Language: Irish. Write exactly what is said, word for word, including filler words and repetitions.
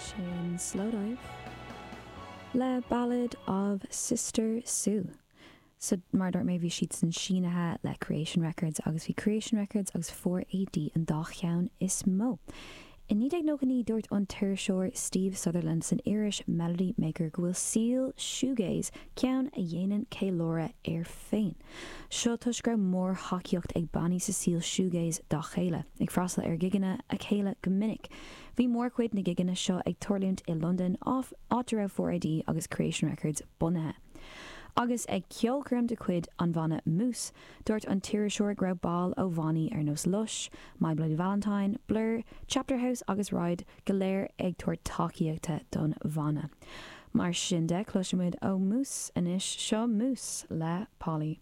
Sin Slowdive le Ballad of Sister Sue. So mar a dúirt mé bhí siadsan sínithe le Creation Records agus bhí Creation Records agus four AD an dá cheann is mó. I naoi déag nócha naoi dúirt an t-iriseoir Steve Sutherland san iris Melody Maker go bhfuil saol shoegaze ceann a dhéanann ceiliúradh air féin. Seo toisc go raibh mórthacaíocht ag bannaí sa saol shoegaze dá chéile, ag freastal ar ghigeanna a chéile go minic. Bhí mórchuid na gigeanna seo ag tarlúint i Londain, áit a raibh four AD agus Creation Records bunaithe. Agus ag ceolchoirm de chuid an bhanna Muse, dúirt an t-iriseoir go raibh baill ó bhannaí ar nós Lush, My Bloody Valentine, Blur, Chapterhouse agus Ride go léir ag tabhairt tacaíochta don bhanna. Mar sin de, cloisfimid ó Muse anois seo Muse le Polly.